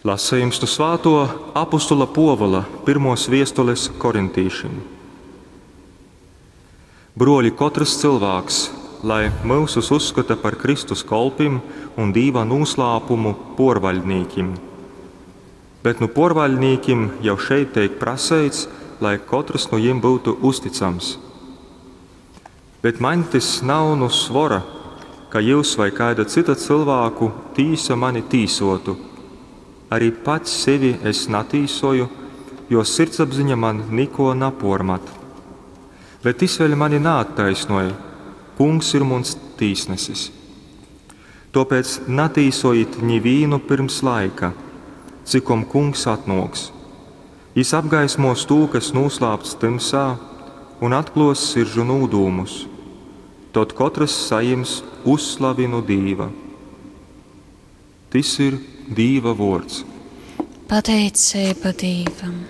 Lasejums nu svātuo apustula Puovula pyrmuos viestules korintīšim. Bruoļi, kotrys cylvāks lai myusus uzskota par Kristus kolpim un Dīva nūslāpumu puorvaļdnīkim. Bet nu puorvaļdnīkim jau šeit teik praseits, lai kotrys nu jim byutu uzticams. Bet maņ tys nav nu svora, ka jyus vai kaida cyta cylvāku tīsa mani tīsuotu. Arī pats sevi es natīsoju, jo sirdsapziņa man niko napuormat. Bet tys vēļ mani naattaisnoj, Kungs ir muns tīsnesis. Tuopēc natīsojit nivīnu pyrms laika, cikom Kungs atnuoks. Jis apgaismuos tū, kas nūslāpts tymsā, un atkluos siržu nūdūmus. Tod kotrys sajims uzslavi nu Dīva. Tys ir Dīva vuords. Pateiceiba Dīvam.